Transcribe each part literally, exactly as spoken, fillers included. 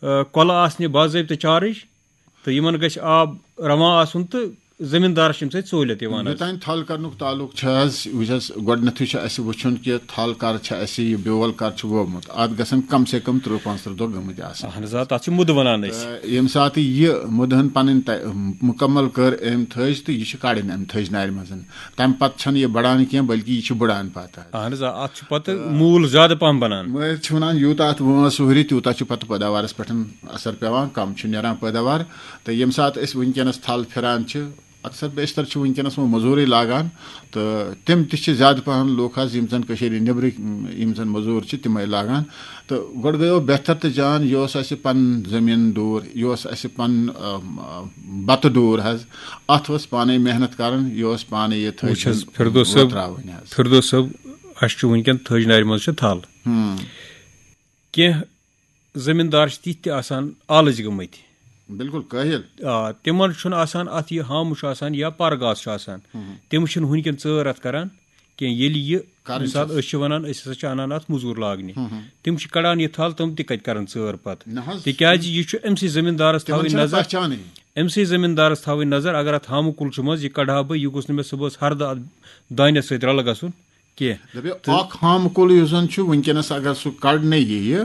آ، کۄلہٕ آسنہِ باضٲبطہٕ چارج، تہٕ یِمن گژھِ آب رواں آسُن، تہٕ زٔمیٖندارس چھِ اَمہِ سۭتۍ سہوٗلیت یِوان حظ۔ یوٚتام تھل کرنُک تعلق چھُ حظ، وٕچھ حظ، گۄڈٕنیتھٕے چھُ اَسہِ وٕچھُن کہِ تھل کر چھِ اَسہِ، یہِ بیول کر چھُ وومُت، اَتھ گژھن کم سے کم تٕرٛہ پانٛژتٕرٛہ دۄہ گٔمٕتۍ آسٕنۍ۔ اہن حظ، آ، تَتھ چھِ مُدٕ وَنان أسۍ۔ تہٕ ییٚمہِ ساتہٕ یہِ مُدہن پنٕنۍ تہ-، مُکمل کٔر أمۍ تھٔج، تہٕ یہِ چھِ کڑٕنۍ اَمہِ تھٔج نارِ منٛز۔ تَمہِ پتہٕ چھَنہٕ یہِ بڑان کینٛہہ، بلکہِ یہِ چھِ بڑان پتہٕ حظ۔ اہن حظ، آ، اَتھ چھُ پتہٕ موٗل زیادٕ پہم بنان۔ مٲہِر چھِ وَنان، یوٗتاہ اَتھ وٲنٛس ہُرِ، تیوٗتاہ چھُ پَتہٕ پٲداوارَس پٮ۪ٹھ اَثر پٮ۪وان، کَم چھُ نیران پٲداوار۔ تہٕ ییٚمہِ ساتہٕ أسۍ وٕنکیٚنَس تھل پھِران چھِ، اَکثر بیشتر چھِ وٕنکیٚنَس وۄنۍ مٔزوٗرٕے لاگان، تہٕ تِم تہِ چھِ زیادٕ پَہَن لُکھ حظ، یِم زَن کٔشیٖرِ نیٚبرٕکۍ، یِم زَن مٔزوٗر چھِ، تِمَے لاگان۔ تہٕ گۄڈٕ گٔیو بہتر تہٕ جان، یہِ اوس اَسہِ پَنُن زٔمیٖن ڈوٗر، یہِ اوس اَسہِ پَنُن، آ، آ، بَتہٕ ڈوٗر حظ۔ اَتھ ٲس پانَے محنت کَرٕنۍ، یہِ اوس پانَے یہِ تھٔج وٕچھ حظ، فردوس صٲب، وۄتراوٕنۍ حظ۔ فردوس صٲب، اَسہِ چھُ وٕنکیٚن تھٔج نارِ منٛز چھِ تھل۔ ہُم۔ کینٛہہ زٔمیٖندار چھِ تِتھۍ تہِ آسان آلٕژ گٔمٕتۍ۔ بِلکُل کٲہِل۔ آ، تِمن چھُنہٕ آسان اَتھ یہِ ہامہٕ چھُ آسان یا پَر گاسہٕ چھُ آسان۔ ہُم۔ تِم چھِنہٕ وٕنکیٚن ژٲر اَتھ کران کینٛہہ۔ ییٚلہِ یہِ کَرٕنۍ کُنہِ ساتہٕ چھِ۔ أسۍ چھِ وَنان، أسۍ ہسا چھِ اَنان اَتھ مٔزوٗر لاگنہِ۔ ہُم ہُم۔ تِم چھِ کَڑان یہِ تھل، تِم تہِ کَتہِ کَرَن ژٲر پَتہٕ؟ نہ حظ۔ تِکیٛازِ یہِ چھُ أمۍ سٕے زٔمیٖندارَس تِمن تھاوٕنۍ چھَنہٕ نظر۔ پہچانٕے۔ أمۍ سٕے زٔمیٖندارَس تھاوٕنۍ نظر، اگر اَتھ ہامہٕ کُل چھُ منٛز، یہِ کَڑٕ ہا بہٕ، یہِ گوٚژھ نہٕ مےٚ صُبحَس ہَردٕ اَتھ دانٮ۪س سۭتۍ رَلہٕ گژھُن کینٛہہ۔ دَپیو، تہٕ اَکھ ہامہٕ کُل یُس زَن چھُ وٕنکیٚنَس، اگر سُہ کَڑنہٕ یِیہِ،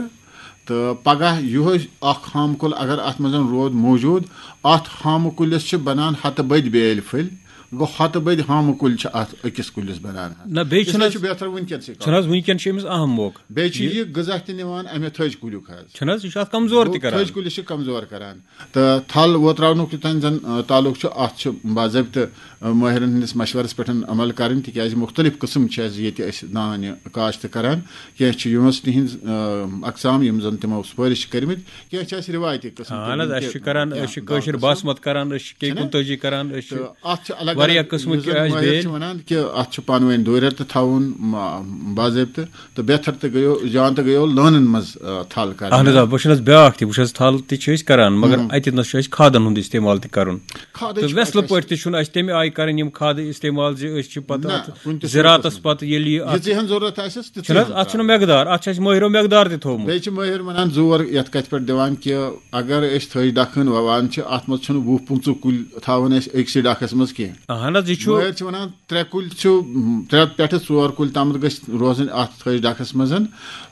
تہٕ پَگاہ یِہوٚے اَکھ ہامہٕ کُل اگر اَتھ منٛز روٗد موٗجوٗد، اَتھ ہامہٕ کُلِس چھِ بَنان ہَتہٕ بٔدۍ بیٛٲلۍ پھٔلۍ، گوٚو ہَتہٕ بٔدۍ ہامہٕ کُلۍ چھِ اَتھ أکِس کُلِس بَنان حظ۔ نہ، بیٚیہِ چھُنہٕ اِسلیے حظ، چھُ بہتر وٕنکیٚنسٕے چھُنہٕ حظ کَرُن۔ وٕنکیٚن چھِ أمِس اَہَم موقعہٕ۔ بیٚیہِ چھُ یہِ یہِ غذا تہِ نِوان اَمہِ تھٔج کُلیُک حظ۔ چھُنہٕ حظ، یہِ چھُ اَتھ کمزور تہِ گوٚو، کَران۔ تھٔج کُلِس چھِ کمزور کَران۔ تہٕ تھل ووتراونُک یوٚتام زَن، آ، تعلق چھُ، اَتھ چھُ باضٲبطہٕ، آ، مٲہرَن ہٕنٛدِس مَشوَرَس پٮ۪ٹھ عمل کَرٕنۍ، تِکیٛازِ مُختٔلِف قٕسٕم چھِ اَسہِ ییٚتہِ أسۍ دانہِ کاشت کَران۔ کینٛہہ چھِ university ہٕنٛدۍ، آ، اقسام، یِم زَن تِمو سُفٲرِش چھِ کٔرمٕتۍ، کینٛہہ چھِ اَسہِ رِوایتی قٕسٕم تہِ اہن حظ، وٕنہِ اَسہِ تہِ، چھِ کَران، آ، أسۍ چھِ کٲشِر باسمَت کَران، أسۍ چھِ کے چھِنہ؟ کُنتٲجی کَران، أسۍ چھِ تہٕ اَتھ چھِ الگ واریاہ الگ، قٕسمٕکۍ یُس زَن اَسہِ مٲہِر بیٲلۍ۔ چھِ وَنان کہِ اَتھ چھُ پانہٕ ؤنۍ دوٗرٮ۪ر تہِ تھاوُن، ما-، باضٲبطہٕ۔ تہٕ بہتر تہِ گٔیو، جان تہِ گٔیو لٲنن منٛز، آ، تھل کرنہٕ۔ اہن حظ، آ، بہٕ چھُس نہٕ حظ بیٛاکھ تہِ، بہٕ چھُس حظ تھل تہِ چھِ أسۍ کران، مگر ہُم۔ اَتہِ نَس چھُ اَسہِ کھادن ہُنٛد استعمال تہِ کرُن۔ کھادٕچ تہٕ چھِ وٮ۪سلہٕ اَسہِ پٲٹھۍ تہِ چھُنہٕ اَسہِ تَمہِ آیہِ کرٕنۍ یِم کھادٕ استعمال زِ أسۍ چھِ پتہٕ نہ، اَتھ کُنہِ تہِ زِراعتس صوٗرتس منٛز۔ پتہٕ ییٚلہِ یہِ اَتھ یِژٕے ہن ضروٗرت آسٮ۪س، تِتھُے چھُنہٕ حظ، ہن اَتھ چھُنہٕ ترٛاوُن۔ مقدار، اَتھ چھُ اَسہِ مٲہرو مقدار تہِ تھوٚومُت۔ بیٚیہِ چھِ مٲہر وَنان زور یَتھ کَتھِ پٮ۪ٹھ دِوان کہِ اگر أسۍ تھٔج ڈَکھ ہن وَوان چھِ، اَتھ منٛز چھُنہٕ وُہ پٕنٛژٕہ کُلۍ تھاوان أسۍ أکسٕے ڈَکھَس منٛز کینٛہہ۔ اہن حظ، یہِ چھُ مٲہر چھِ وَنان ترٛےٚ کُلۍ چھِ، م، ترٛےٚ پٮ۪ٹھٕ ژور کُلۍ تامَتھ گٔژھۍ روزٕنۍ اَتھ تھٔج ڈَکھَس منٛز۔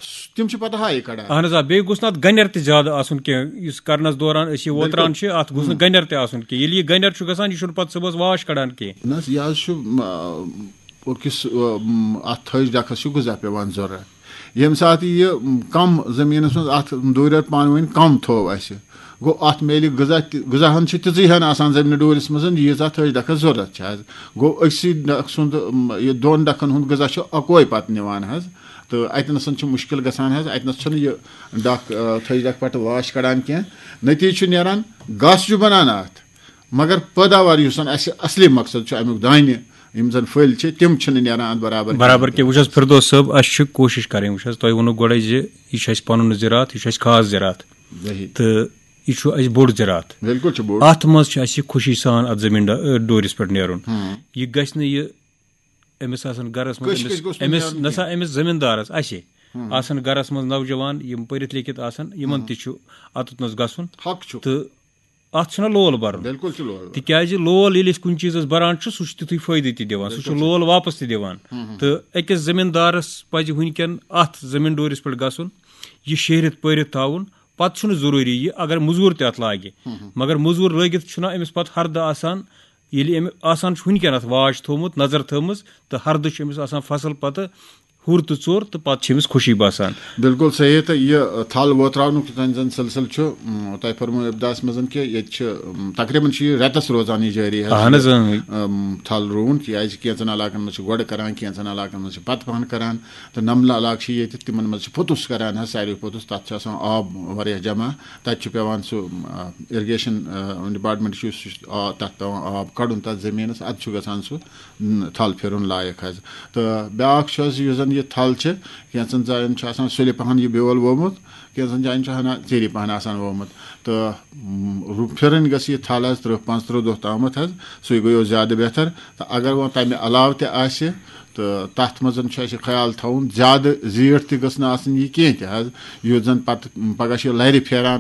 س-، تِم چھِ پَتہٕ ہاے کَڑان۔ اہن حظ، آ، بیٚیہِ گوٚژھ نہٕ اَتھ گَنٮ۪ر تہِ زیادٕ آسُن کینٛہہ۔ یُس کَرنَس دوران أسۍ یہِ بِلکُل۔ ووتران چھِ، اَتھ گوٚژھ نہٕ ہُم۔ گَنٮ۪ر تہِ آسُن کینٛہہ۔ ییٚلہِ یہِ گَنٮ۪ر چھُ گژھان، یہِ چھُنہٕ پَتہٕ صُبحَس واش کَڑان کینٛہہ۔ نہ حظ، یہِ حظ چھُ، م، أکِس، م، اَتھ تھٔج ڈَکھَس چھُ غذا پٮ۪وان ضوٚرَتھ۔ ییٚمہِ ساتہٕ یہِ، م، کَم زٔمیٖنَس منٛز اَتھ دوٗرٮ۪ر پانہٕ ؤنۍ کَم تھوٚو اَسہِ، گوٚو اَتھ میلہِ غذا تہِ، غذا ہن چھِ تِژٕے ہن آسان زٔمیٖنہِ ڈوٗرِس منٛز، ییٖژاہ تھٔج ڈَکھَس ضوٚرَتھ چھِ حظ۔ گوٚو أکسٕے ڈَکھ سُنٛد، م، یہِ دۄن ڈَکھَن ہُنٛد غذا چھُ اَکوے پَتہٕ نِوان حظ۔ تہٕ اَتہِ نَسَن چھُ مُشکِل گژھان حظ، اَتہِ نَس چھُنہٕ یہِ ڈَکھ، آ، تھٔج ڈَکھ پٮ۪ٹھ واش کَڑان کینٛہہ۔ نٔتیٖجہٕ چھُ نیران، گاسہٕ چھُ بَنان اَتھ، مگر پٲداوار یُس زَن اَسہِ اَصلی مقصد چھُ اَمیُک دانہِ، یِم زَن پھٔلۍ چھِ، تِم چھِنہٕ نیران اَتھ برابر برابر کِہیٖنۍ۔ کینٛہہ۔ وٕچھ حظ، فردوس صٲب، اَسہِ چھِ کوٗشِش کَرٕنۍ۔ وٕچھ حظ، تۄہہِ ووٚنوُ گۄڈَے زِ یہِ چھُ اَسہِ پَنُن زِراعت، یہِ چھُ اَسہِ خاص زِراعت۔ صحیح۔ تہٕ یہِ چھُ اَسہِ بوٚڑ زِراعت۔ بِلکُل چھُ بوٚڑ۔ اَتھ منٛز چھُ اَسہِ خوشی سان اَتھ زٔمیٖن ڈا-، ڈوٗرِس پٮ۪ٹھ نیرُن۔ ہُم۔ یہِ گژھِ نہٕ یہِ أمِس آسَن گَرَس منٛز، کٲنٛسہِ أمِس، کٲنٛسہِ گوٚژھ نہٕ أمِس نیرُن نہ سا کینٛہہ۔ أمِس زٔمیٖندارَس، اَسہِ ہُم۔ آسَن گَرَس منٛز نوجوان، یِم پٔرِتھ لیکھِتھ آسَن، یِمَن ہُم۔ تہِ چھُ اَتَتھ نَس گژھُن۔ حق چھُ۔ تہٕ اَتھ چھُنہ لول بَرُن۔ بِلکُل چھُ لول بَرُن۔ تِکیٛازِ لول ییٚلہِ أسۍ کُنہِ چیٖزَس بَران چھُ، سُہ چھُ تِتھُے فٲیدٕ تہِ دِوان، سُہ چھُ بِلکُل چھُ۔ لول واپَس تہِ دِوان۔ ہُم، ہُم۔ تہٕ أکِس زٔمیٖندارَس پَزِ وٕنکٮ۪ن اَتھ زٔمیٖن ڈوٗرِس پٮ۪ٹھ گژھُن، یہِ شیہرِتھ پٲرِتھ تھاوُن۔ پَتہٕ چھُنہٕ ضروٗری یہِ اگر مٔزوٗر تہِ اَتھ لاگہِ، ہُم، ہُم۔ مگر مٔزوٗر لٲگِتھ چھُنہ أمِس پَتہٕ ہَردٕ آسان، ییٚلہِ أمۍ آسان چھُ وٕنکٮ۪ن اَتھ واچ تھوٚومُت، نظر تھٲومٕژ، تہٕ ہَردٕ چھُ أمِس آسان فصل پَتہٕ ہُر تہٕ ژوٚر، تہٕ پَتہٕ چھِ أمِس خوشی باسان۔ بِلکُل صحیح۔ تہٕ یہِ، ٲ، تھل ووتراونُک یُس زَن سِلسِلہٕ چھُ، م، تۄہہِ فرموو ابتداہَس منٛز کہِ ییٚتہِ چھِ، م، تقریٖباً چھُ یہِ رٮ۪تَس روزان یہِ جٲری حظ۔ اَہَن حظ، اۭں۔ ٲم، تھل رُوُن، کیٛازِ کینٛژَن علاقَن منٛز چھِ گۄڈٕ کَران، کینٛژَن علاقَن منٛز چھِ پَتہٕ پَہَن کَران۔ تہٕ نَملہٕ علاقہٕ چھِ ییٚتہِ، تِمَن منٛز چھِ پوٚتُس کَران حظ، ساروی پوٚتُس، تَتھ چھُ آسان آب واریاہ جمع، تَتہِ چھُ پٮ۪وان سُہ، م، آ، irrigation، آ، department چھُ، سُہ چھُ آ-، تَتھ پٮ۪وان آب کَڑُن تَتھ زٔمیٖنَس، اَدٕ چھُ گژھان سُہ، م، تھل پھِرُن لایق حظ۔ تہٕ بیٛاکھ چھُ حظ، یُس زَن یہِ تھل چھِ، کینٛژَن جایَن چھُ آسان سُلہِ پَہَن یہِ بیول وومُت، کینٛژَن جایَن چھُ ہنا ژیٖری پَہَن آسان وومُت۔ تہٕ، م، رُ-، پھِرٕنۍ گٔژھ یہِ تھل حظ تٕرٛہ پانٛژتٕرٛہ دۄہ تامَتھ حظ، سُے گوٚو زیادٕ بہتر۔ تہٕ اگر وۄنۍ تَمہِ علاوٕ تہِ آسہِ، تہٕ تَتھ منٛز چھُ اَسہِ خیال تھاوُن، زیادٕ زیٖٹھ تہِ گٔژھ نہٕ آسٕنۍ یہِ کینٛہہ تہِ حظ، یُتھ زَن پَتہٕ پَگاہ چھِ یہِ لَرِ پھیران،